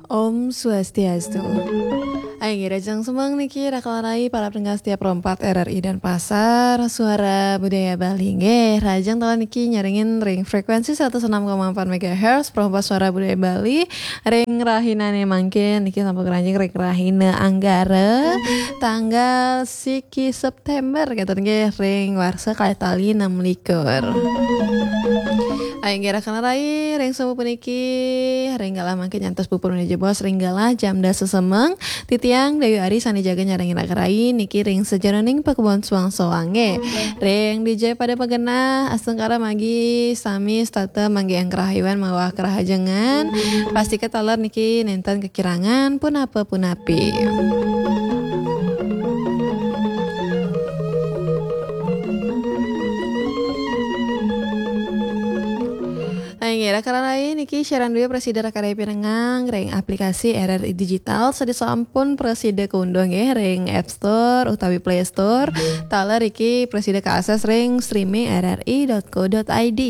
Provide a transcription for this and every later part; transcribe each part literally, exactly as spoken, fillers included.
Om Swastiastu. Ayo, nggih, rahajeng semeng niki, raka rai para pendengar setia Pro empat R R I Denpasar, Suara Budaya Bali. Nggih, rahajeng taler niki nyarengin ring frekuensi seratus enam koma empat megahertz, Pro empat Suara Budaya Bali, ring rahinane mangkin niki sampun keranjing ring rahina Anggara, tanggal siki September, kenten nggih, ring warsa kalih tali enam likur. Ayo, nggih, raka rai, ring semu puniki, ring galah mangkin nyantos puput menawi jebos ring galah jam dasa semeng, titiang Dayu Ari sane jaga nyarengin raka rai niki ring sajeroning pakebon soang-soange. Ring dija pada magenah, astungkara magi sami setata manggihin karahayon miwah karahajengan. Pastika taler niki nenten kekirangan punapa-punapi. Nah, inggih, raka rai niki siaran due prasida raka rai pirengang ring aplikasi R R I Digital, sane sampun prasida kaunduh nggih ring App Store utawi Play Store. Taler niki prasida kaakses ring streaming R R I dot co dot I D.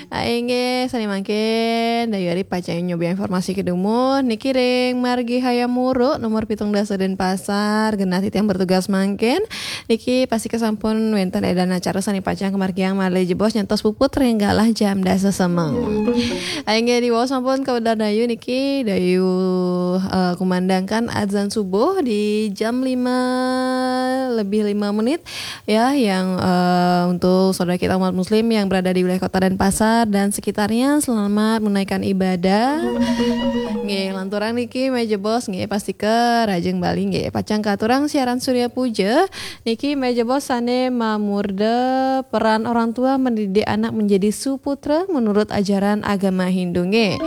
Ah, inggih, sane mangkin, Dayu Ari pacang nyobi informasi kedumuh. Niki ring Margi Hayamuruk, nomor pitung dasa Denpasar, genah titiang bertugas mangkin. Niki pastika sampun wenten edan acara sane pacang kamargiang malih jebos nyantos puput ring galah jam dasa semeng. Ah, inggih, diwaos sampun kawedar Dayu niki, Dayu, eh, kumandangkan azan subuh di jam lima lebih lima menit. Ya, yang, eh, untuk saudara kita umat muslim yang berada di wilayah Kota Denpasar dan sekitarnya, selamat menunaikan ibadah. Nggih, lanturang niki malih jebos nggih, pastika rahajeng Bali nggih, pacang katurang siaran Surya Puja niki malih jebos sane mamurda peran orang tua mendidik anak menjadi suputra menurut ajaran agama Hindu nggih.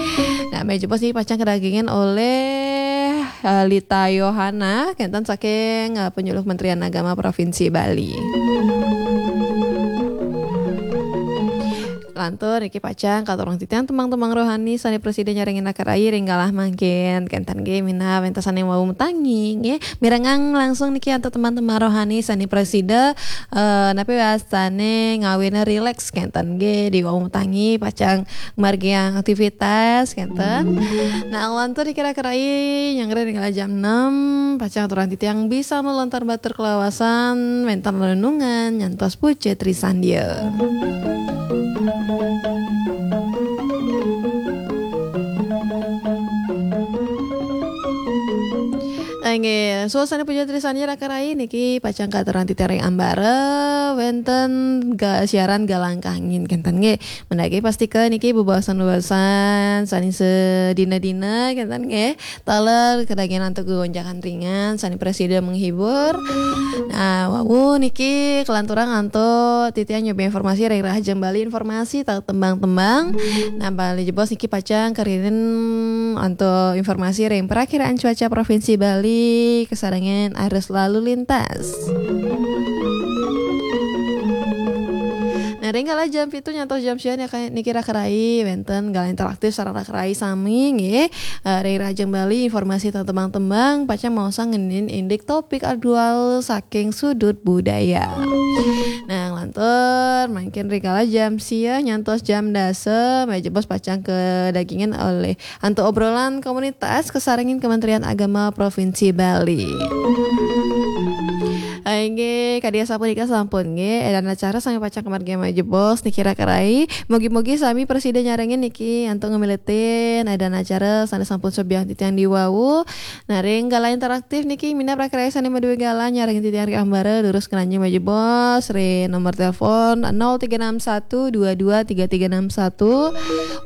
Nah, malih jebos niki pacang kadagingan oleh eh, Lita Yohana, kenten saking, eh, Penyuluh Kementerian Agama Provinsi Bali. Lantur niki pacang katurang titiang tembang-tembang rohani sane prasida nyarengin raka rai ring galah mangkin. Kenten nggih minab wenten sane wau matangi nggih. Mirengang langsung niki antuk tembang-tembang rohani sane prasida, eh, napi wastane ngawina rileks kenten nggih di wau matangi pacang margiang aktivitas kenten. Nah, lantur kira-kira nyanggra ring jam enam, pacang aturang titiang bisa melontar batur kalawasan, wenten renungan, nyantos puja trisandia. Inggih, suasana puja trisandia raka rai niki pacang katurang titiang ring ambara, wenten ga-, siaran galang kangin kenten nggih. Mendaki pastika niki bebaosan-bebaosan sane sedina-dina kenten nggih. Taler kadagingan antuk gonjakan ringan sane prasida menghibur. Nah, wau niki kelanturang antuk titiang nyobi informasi ring rahajeng Bali, informasi tau tembang-tembang. Nah, malih jebos niki pacang kariin antuk informasi ring Perakiraan Cuaca Provinsi Bali, kasarengin arus lalu lintas. Nah, ring kala jam pitu nyantos jam sia niki raka rai wenten galah interaktif sareng raka rai sami nggih. Eh, ring rahajeng Bali informasi tentang tembang-tembang pacang maosang ngenin indik topik aktual saking sudut budaya. Nah, lantur mangkin ring kala jam sia nyantos jam dasa, malih jebos pacang kadagingan olih antuk obrolan komunitas kasarengin Kementerian Agama Provinsi Bali. Inggih, kadi asapunika sampun nggih, edan acara sami pacang kamargiang malih jebos niki raka rai. Mugi-mugi sami prasida nyarengin niki antuk ngamiletin edan acara sane sampun sobiahang titiang diwau. Nah, ring galah interaktif niki minab raka rai sane madue galah nyarengin titiang ring ambara durus ngranjing malih jebos ring nomor telepon nol tiga enam satu dua dua tiga tiga enam satu.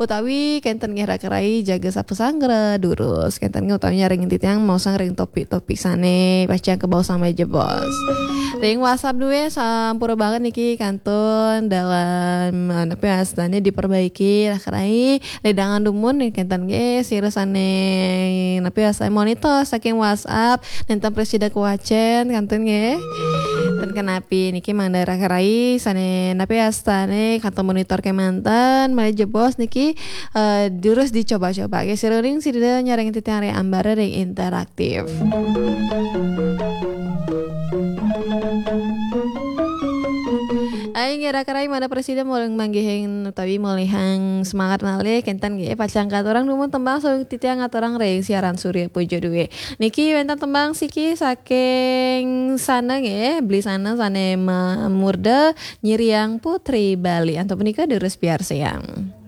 Utawi kenten nggih raka rai jaga sapasanggra durus. Kenten nggih utawi nyarengin titiang maosang ring topik-topik sane pacang kabaosang malih jebos. Ring WhatsApp due sampura banget niki kantun dalam, eh, napi wastane diperbaiki raka rai. Ledangan dumun niki kenten nggih sira sane napi wastane monitor saking WhatsApp nenten prasida kawacen kenten nggih. Ten kenapi niki mangda raka rai sane napi wastane kantun monitor kemanten malih jebos niki, eh, durus dicoba-coba. Nggih, sira ring sida nyarengin titiang ring ambara ring interaktif. Inggih, Raka Rai, mangda prasida manggihin utawi molihang semangat malih, kénten nggih, pacang katurang dumun tembang sareng titiang ngaturang ring siaran Surya Puja Due. Niki wénten tembang siki saking Sana nggih, Bli Sana sané mamurda Nyiriang Putri Bali. Antuk punika durus piarsayang.